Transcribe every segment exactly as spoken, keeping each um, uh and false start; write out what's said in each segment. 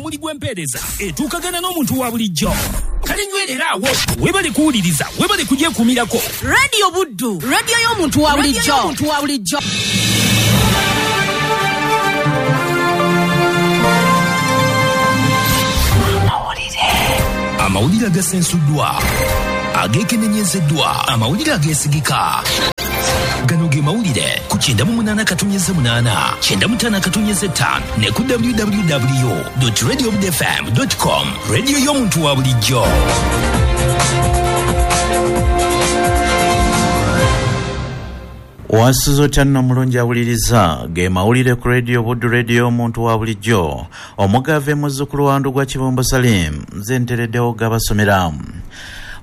Muli gw'empeereza etuukagana n'omuntu wa bulijjo. Kale nywerera awo, webale kuwuliriza, webale kugyekuumirako. Radio Buddu, radio y'omuntu wa bulijjo. Y'omuntu wa bulijjo. Amawulire agasensuddwa, ageekenenyezeddwa, amawulire ageesigika. Gano ge mawulire ku kyenda mu munaana katonnyeze munaana, kyenda mu ttaano katonnyeze ttaano ne ku w w w dot radio buddu f m dot com. Radio y'omuntu wa bulijjo. Wasuzo tano mulungi awuliriza ge mawulire ku Radio Buddu, radio y'omuntu wa bulijjo. Omugave muzzukulu wa Ndugwa Kibumba Salim, nze ntereddewo gabasomera.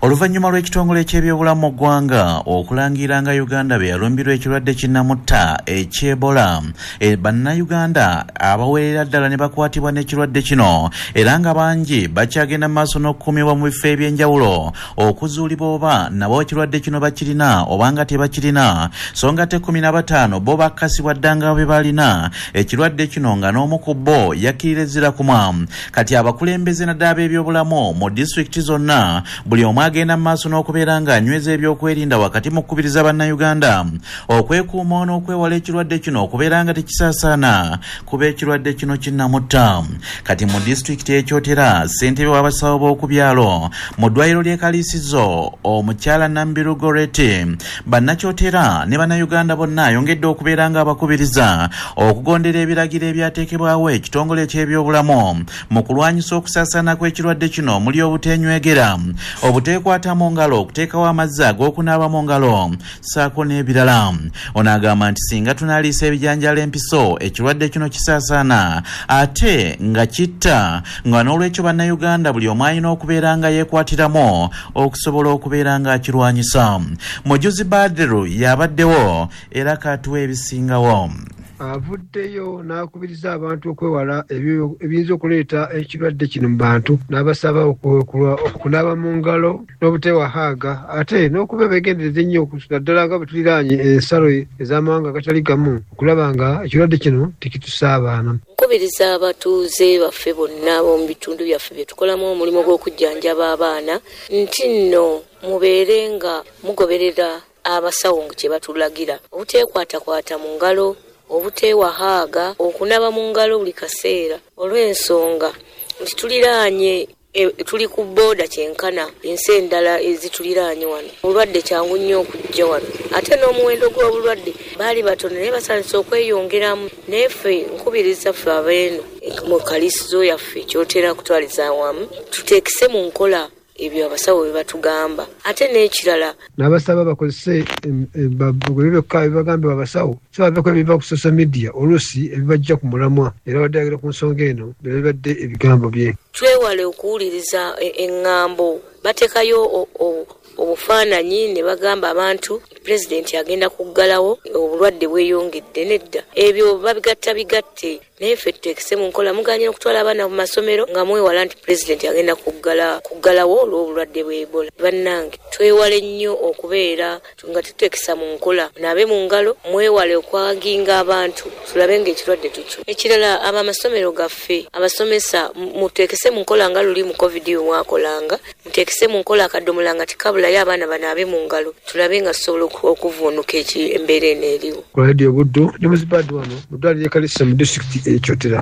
Oluvannyuma lw'ekitongole ky'ebyobulamu mu ggwanga okulangira nga Uganda bwe yalumbirwa ekirwadde kinnamutta eky'Ebola, e, bannayuganda abawerera ddala ne bakwatibwa n'ekirwadde kino, era nga bangi bakyagenda mu maaso n'okukuumibwa mu bifo eby'enjawulo okuzuulibwa oba nabo ekirwadde kino bakirina oba nga tebakirina. So nga ate kkumi na bataano bo bakkasibwa dda nga bwe balina ekirwadde kino, nga n'omu ku bo yakkirira ezzira kumwa. Kati abakulembeze naddala ab'ebyobulamu mu disitulikiti zonna buli omu agenda mu maaso n'okubeera ng'anyweza ebyokwerinda wakati mu kukubiriza bannayuganda okwekuuma n'okwewala ekirwadde kino okubeera nga tekisaasaana, kuba ekirwadde kino kinnamutta. Kati mu disitulikiti y'Ekyotera, ssentebe w'abasawo b'oku byalo mu ddwaliro ly'e Kaliisizo omukyala Nambiru Goreti, bannakyotera ne bannayuganda bonna ayongedde okubeera ng'abakubiriza okugondera ebiragiro ebyateekebwawo ekitongole eky'ebyobulamu mu kulwanyisa okusaasaana kw'ekirwadde kino omuli obuteenywegera, obute kwata mu ngalo, okuteekawo amazzi ag'okunaaba mu ngalo ssaako n'ebirala. Ono agamba nti singa tunaaliisa ebijanjaalo empiso, ekirwadde kino kisaasaana ate nga kitta, nga n'olwekyo bannayuganda buli omu alina okubeera nga yeekwatiramu okusobola okubeera nga akirwanyisa. Mujuzi Badiru yabaddewo era katuwa ebisingawo. Avuddeyo n'akubiriza abantu okwewala ebiyinza okuleeta ekirwadde kino mu bantu, n'abasaba okunaaba mu ngalo n'obutewahaaga, ate n'okuba beegendereza ennyo naddala nga bwe tuliraanye ensalo ez'amawanga agatali gamu, okulaba nga ekirwadde kino tekitusaabaana. Nkubiriza abatuuze baffe bonna ab'omu bitundu byaffe bye tukolamu omulimu gw'okujjanjaba abaana nti nno mubeere nga mugoberera abasawo kye batulagira, obuteekwatakwata mu ngalo, obutewahaaga, okunaaba mu ngalo buli kaseera, olw'ensonga nti tuliraanye e, tuli ku booda kyenkana ensi endala ezituliraanye wano. Obulwadde kyangu nnyo okujja wano, ate n'omuwendo gw'obulwadde baali batono naye basandise okweyongeramu. Naye ffe nkubiriza ffe abeeno mu kaliisizo yaffe kyotera kutwaliza awamu tuteekese mu nkola ebyo abasawo bye batugamba. Ate n'ekirala n'abasaba bakozese byokka ebibagambibwa abasawo, so baveeko ebiva ku social media oluusi ebibajja ku mulamwa, era badde ayogera ku nsonga eno bye bibadde ebigambo bye. Twewale okuwuliriza eŋŋambo, bateekayo obufaananyi ne bagamba abantu pulezidenti agenda kuggalawo obulwadde bweyongedde. Nedda, ebyo babigatta bigatte, naye ffe tuteekese mu nkola. Muganye okutwala abaana mu masomero nga mwewala nti pulezidenti agenda kuggala kuggalawo olw'obulwadde bw'Ebola. Bannange twewale nnyo okubeera nga tuteekesa mu nkola, naabe mu ngalo, mwewale okwaginga abantu tulabe ng'ekirwadde tukyo. Ekirala, abamasomero gaffe abasomesa muteekese mu nkola nga luli mu COVID bwe mwakolanga, muteekese mu nkola akadomola nga tekabulayo, abaana banaabe mu ngalo, tulabe nga tusobola okuvuunuka embeera eno eriwo. Ku Radio Buddu ne Muzibadi wano mu ddwaliro ly'e Kaliisizo mu disitulikiti y'Ekyotera.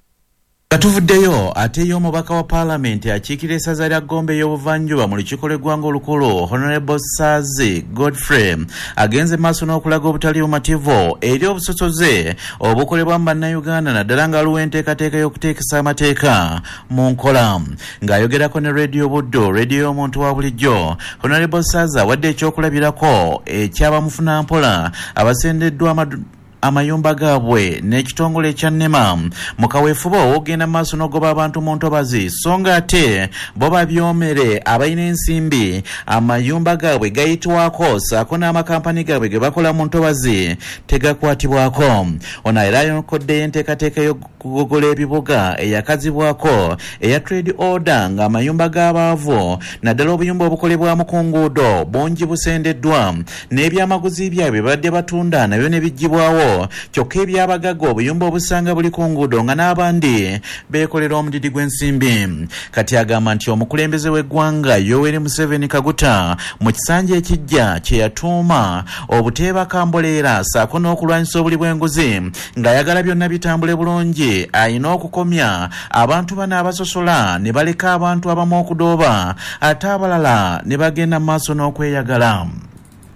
Nga tuvuddeyo, ate ye omubaka wa paalamenti akiikira essaza lya Gombe ey'obuvanjuba mu lukiiko lw'eggwanga olukulu, Honorable Saazi Godfrey, agenze maaso n'okulaga obutali bumativu eri obusosoze obukolebwa mu bannayuganda, naddala nga waliwo enteekateeka y'okuteekesa amateeka mu nkola. Ng'ayogerako ne Radio Buddu, radio y'omuntu wa bulijjo, Honorable Saazi awadde ekyokulabirako eky'abamufunampola abasendeddwa amadu amayumba gaabwe n'ekitongole ekya NEMA mu kaweefube ow'okugenda maaso n'ogoba abantu mu ntobazi, so nga ate bo babyomere abalina ensimbi amayumba gaabwe gayitwako ssaako n'amakampani gaabwe ge bakola mu ntobazi tegakwatibwako. Ono era ayokoddeyo enteekateeka y'okugogola ebibuga eyakazibwako eya trade order, ng'amayumba g'abaavu naddala obuyumba obukolebwamu ku nguudo bungi busendeddwa n'ebyamaguzi byabwe babadde batunda nabyo ne biggyibwawo bigwawo, kyokka eby'abagagga obuyumba obusanga buli ku nguudo nga n'abandi beekolera omudidi gw'ensimbi. Kati agamba nti omukulembeze w'eggwanga Yoweri Museveni Kaguta mu kisanja ekijja kye yatuuma obuteebaka mboleera ssaako n'okulwanyisa obuli bw'enguzi ng'ayagala byonna bitambule bulungi, ayina okukomya abantu bano abasosola ne baleka abantu abamu okudooba ate abalala ne bagenda mu maaso n'okweyagala.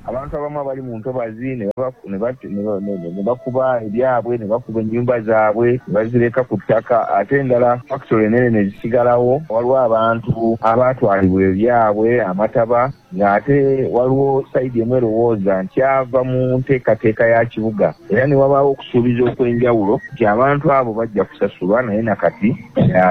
Abantu abamu abali mu ntobazi ne bakuba ebyabwe ne bakuba ennyumba zaabwe ne bazireka ku ttaka, ate endala factory ennene ne zisigalawo. Waliwo abantu abaatwalibwa ebyabwe amataba, ng'ate waliwo sayidi emu erowooza nti ava mu nteekateeka ya kibuga, era ne wabaawo okusuubiza okw'enjawulo nti abantu abo bajja kusasulwa, naye nakati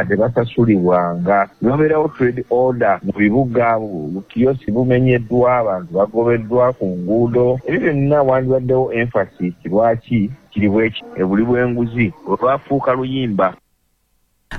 tebasasulibwanga. Ne wabeerawo trade order mu bibuga, bukiyosi bumenyeddwa, abantu bagobeddwa ku nguudo. Ebyo byonna wandibaddewo emphasis lwaki kiri bweki ebuli bw'enguzi olwafuuka luyimba.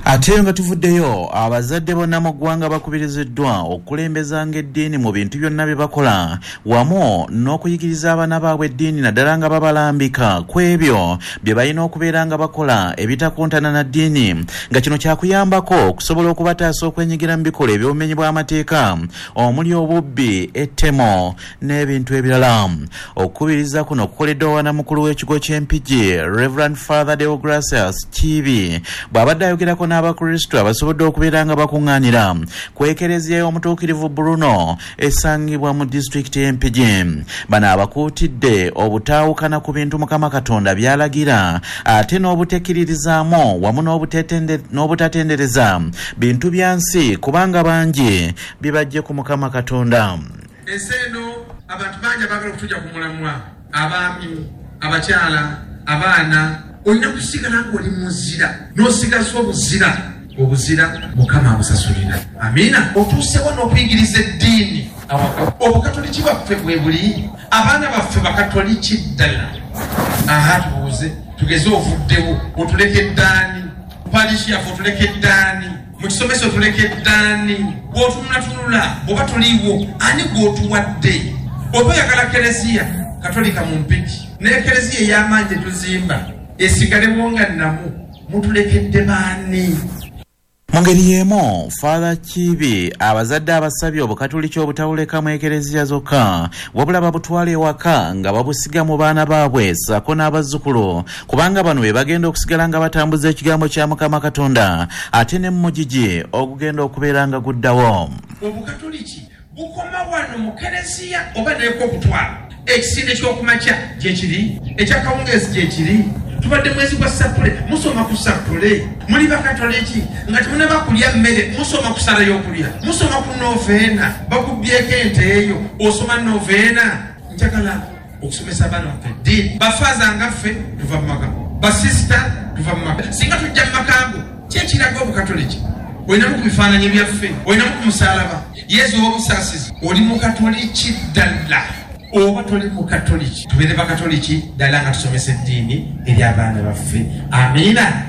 Ate nga tuvuddeyo, abazadde bonna mu ggwanga bakubiriziddwa okukulembezanga eddiini mu bintu byonna bye bakola wamu n'okuyigiriza abaana baabwe eddiini, naddala nga babalambika ku ebyo bye balina okubeera nga bakola ebitakontana na ddiini, nga kino kyakuyambako okusobola okubataasa okwenyigira mu bikolwa eby'obumenyi bw'amateeka omuli obubbi, ettemo n'ebintu ebirala. Okukubiriza kuno kukoleddwa wanamukulu w'ekigo ky'Empigi Reverend Father Deogracius Kiibi bw'abadde ayogerako n'Abakristo abasobodde okubeera nga bakuŋŋaanira ku Ekereziya y'Omutuukirivu Bruno esangibwa mu disitulikiti y'Empigi. Bano abakuutidde obutaawukana ku bintu Mukama Katonda by'alagira ate n'obutekkiririzaamu wamu n'obutatendereza bintu bya nsi, kubanga bangi bibajje ku Mukama Katonda. Ensi eno abantu bangi abaagala okutujja ku mulamwa, abaami, abakyala, abaana. Olina kusigala ng'oli muzira, n'osigaza obuzira, obuzira Mukama abusasulira. Amiina. Otuusewo n'okuyigiriza eddiini awaka. Obukatoliki bwaffe bwe buli, abaana baffe bakatoliki ddala. Aha, tubuuze, tugeze ovuddewo, otuleke eddaani, parishi yaffe otuleke eddaani, mu kisomesa otuleke eddaani, bw'otunulatunula oba tuliwo, ani gw'otuwadde? Oba oyagala kereziya katolika mu Mpigi, n'ekereziya ey'amaanyi gye tuzimba esigalewo nga nnamu, mutulekedde baani? Mu ngeri y'emu, Father Kiibi abazadde abasabye obukatoliki obutawuleka mu ekereziya zokka, wabula babutwala ewaka nga babusiga mu baana baabwe ssaako n'abazzukulu, kubanga bano be bagenda okusigala nga batambuza ekigambo kya Mukama Katonda ate ne mumugigi ogugenda okubeera nga guddawo. Obukatoliki bukoma wano mu kereziya oba neeko okutwala ekisinde ky'okumakya gye kiri, ekyakawungeezi gye kiri. Tubadde mwezi gwa sappule, musoma ku sappule. Muli bakatoliki nga temunaba kulya mmere, musoma ku ssala y'okulya, musoma ku noveena, bakubyeko ente eyo, osoma noveena. Njagala okusomesa abaana baffe eddiini. Bafaaza nga ffe tuva mu maka, basisita tuva mu maka. Singa tujja mu maka go, ki ekiraga obukatoliki? Olinamu ku bifaananyi byaffe, olinamu ku musaalaba, Yezu ow'obusaasizi. Oli mukatoliki ddala oba toli mukatoliki? Tubeere bakatoliki ddala nga tusomesa eddiini eri abaana baffe. Amiina.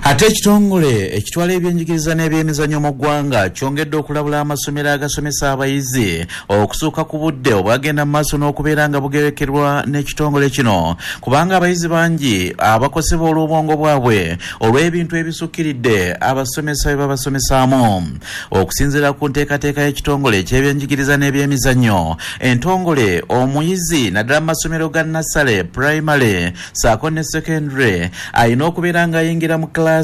Ate ekitongole ekitwala ebyenjigiriza n'ebyemizannyo mu ggwanga kyongedde okulabula amasomero agasomesa abayizi okusukka ku budde obwagenda mu maaso n'okubeera nga bugerekerwa n'ekitongole kino, kubanga abayizi bangi abakosebwa olw'obwongo bwabwe olw'ebintu ebisukkiridde abasomesa bye babasomesaamu. Okusinziira ku nteekateeka y'ekitongole eky'ebyenjigiriza n'ebyemizannyo entongole, omuyizi naddala mu masomero ga nasale, primary ssaako ne secondary alina okubeera ng'ayingira mu kilasi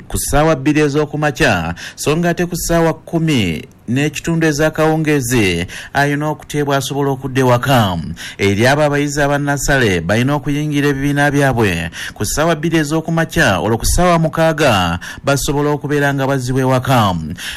ku ssaawa bbiri ez'okumakya, so nga ate ku ssaawa kkumi n'ekitundu ez'akawungeezi alina okuteebwa asobola okudda ewaka. Eri abo abayizi abannasale balina okuyingira ebibiina byabwe ku ssaawa bbiri ez'okumakya, olwo ku ssaawa mukaaga basobola okubeera nga bazzibwa ewaka.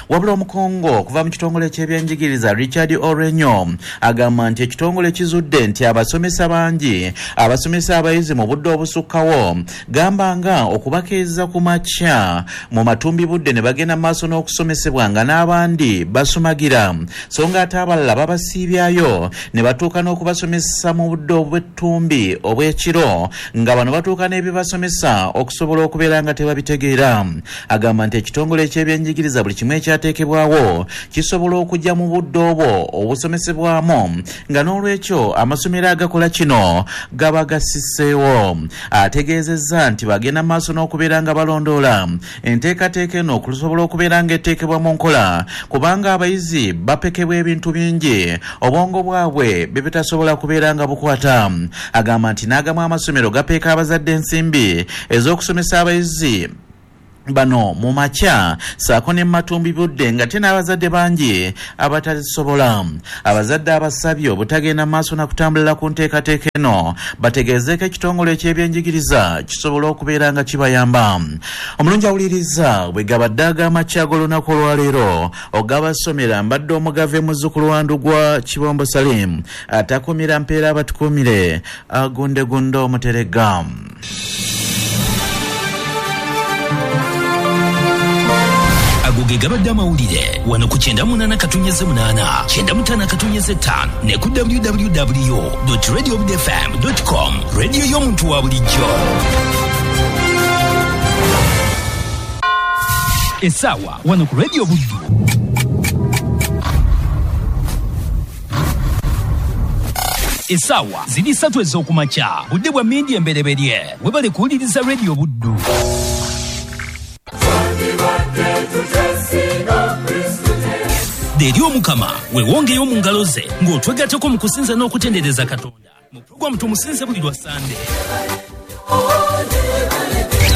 Wabula omukungu okuva mu kitongole ky'ebyenjigiriza Richard Orenyo agamba nti ekitongole kizudde nti abasomesa bangi abasomesa abayizi mu budde obusukkawo, gamba nga okubakeeza ku makya mu matumbi budde ne bagenda mu maaso n'okusomesebwa nga n'abandi basumagira, so nga ate abalala babasiibyayo ne batuuka n'okubasomesa mu budde obw'ettumbi obw'ekiro, nga bano batuuka n'ebibasomesa okusobola okubeera nga tebabitegeera. Agamba nti ekitongole eky'ebyenjigiriza buli kimu ekyateekebwawo kisobola okujja mu budde obwo obusomesebwamu, nga n'olwekyo amasomero agakola kino gaba gasiseewo. Ategeezezza nti bagenda maaso n'okubeera nga balondoola enteekateeka eno okusobola okubeera nga eteekebwa mu nkola, kubanga abayizi bapekebwa ebintu bingi obwongo bwabwe bye bitasobola kubeera nga bukwata. Agamba nti n'agamu amasomero gapeeka abazadde ensimbi ez'okusomesa abayizi bano mu makya saako ne matumbi budde, nga te n'abazadde bangi abatazisobola. Abazadde abasabye obutagenda maaso na kutambulira ku nteekateeka eno, bategeezeeko ekitongole eky'ebyenjigiriza kisobola okubeera nga kibayamba. Omulungi awuliriza, bwe gabadde ag'amakya g'olunaku olwaleero ogabasomera, mbadde omugave muzzukulu wa Ndugwa Kibombo Salim, atakumira mpeera abatukuumire, agundegunde omuteregga. Ago ge gabadde amawulire wano ku kyenda munaana katunyeze munaana kyenda mutaano katunyeze ttaano ne ku w w w dot radio buddu f m dot com. Radio y'omuntu wa bulijjo. Essaawa wano ku Radio Buddu essaawa ziri ssatu ez'okumakya, budde bwa mmindi embereberye. Webale kuwuliriza Radio Buddu. Eri Omukama weewongeyo mu ngalo ze ng'otwegattako mu kusinza n'okutendereza Katonda mu pulogulaamu Tumusinze buli lwa Ssande.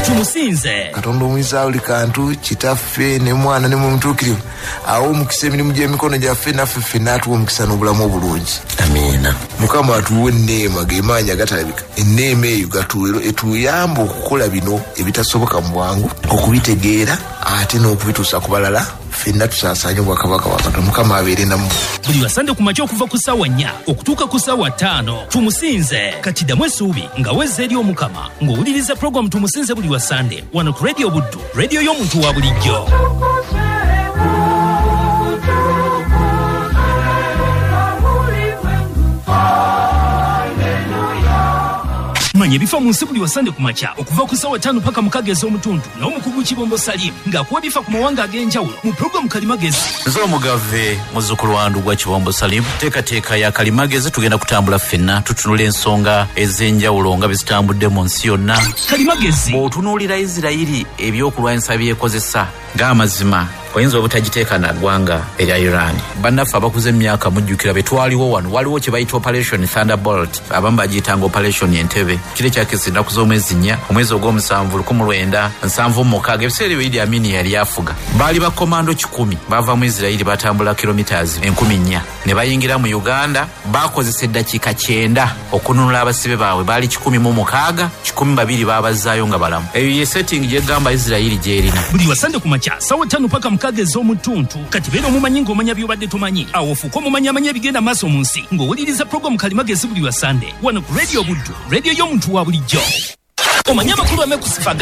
Tumusinze Katonda omuyinza buli kantu, Kitaffe ne Mwana ne Mwoyo Mutuukirivu, awo omukisa emirimu gy'emikono gyaffe, naffe ffenna atuwe omukisa n'obulamu obulungi. Amiina. Mukama atuwe enneema, ge maanyi agatalabika. Enneema eyo etuyamba okukola bino ebitasoboka mu bwangu, okubitegeera ate n'okubituusa ku balala, ffenna tusaasaanye obwakabaka bwa Katonda. Mukama abeere nammwe. Buli lwa Ssande ku makya okuva ku ssaawa nnya okutuuka ku ssaawa ttaano Tumusinze. Kati ddamu essuubi nga wezza eri Omukama ng'owuliriza pulogulaamu Tumusinze buli lwa Ssande wano ku Radio Buddu, radio y'omuntu wa bulijjo. Manya ebifa mu nsi buli wa Ssande ku makya okuva ku ssaawa ttaano paka mukaaga ez'omutundu n'omukugu Kibombo Salim ng'akuwa ebifa ku mawanga ag'enjawulo mu pulogulaamu Kalimagezi. Nze omugave muzzukulu wa Ndugwa Kibombo Salim, teekateeka ya Kalimagezi tugenda kutambula ffenna tutunula ensonga ez'enjawulo nga bwe zitambudde mu nsi yonna. Kalimagezi bw'otunuulira Isirayiri ebyokulwanyisa byekozesa ng'amazima oyinza obutagiteeka na ggwanga erya Iran. Bannaffe abakuze emyaka mujjukira be twaliwo wano, waliwo kye bayita Operation Thunderbolt, abamu bagiyitanga Operation Entebbe. Kiro ekyakisa ennaku z'omwezi nnya, omwezi ogw'omusanvu lukumi lwenda nsanvu mu mukaaga, ebiseera ebyo Idi Amin yali afuga. Baali bakomando kikumi bava mu Isirayiri batambula kilometers enkumi nnya ne bayingira mu Uganda. Bakozesa eddakiika kyenda okununula abasibe baabwe, baali kikumi mu mukaaga, kikumi babiri baabazaayo nga balamu. Eyo ye setting gyegamba Isirayiri gy'erina. Buli lwa Ssande ku makya ssaawa ttaano paka mukaaga ez'omutuntu. Kati beera omumanyi ng'omanya by'obadde tomanyi, awo ofuuke omumanyi amanya ebigenda maaso mu nsi ng'owuliriza pulogulaamu Kalimagezi buli lwa Ssande wano ku Radio Buddu, radio y'omuntu wa bulijjo. Omanye amakulu amekusifa.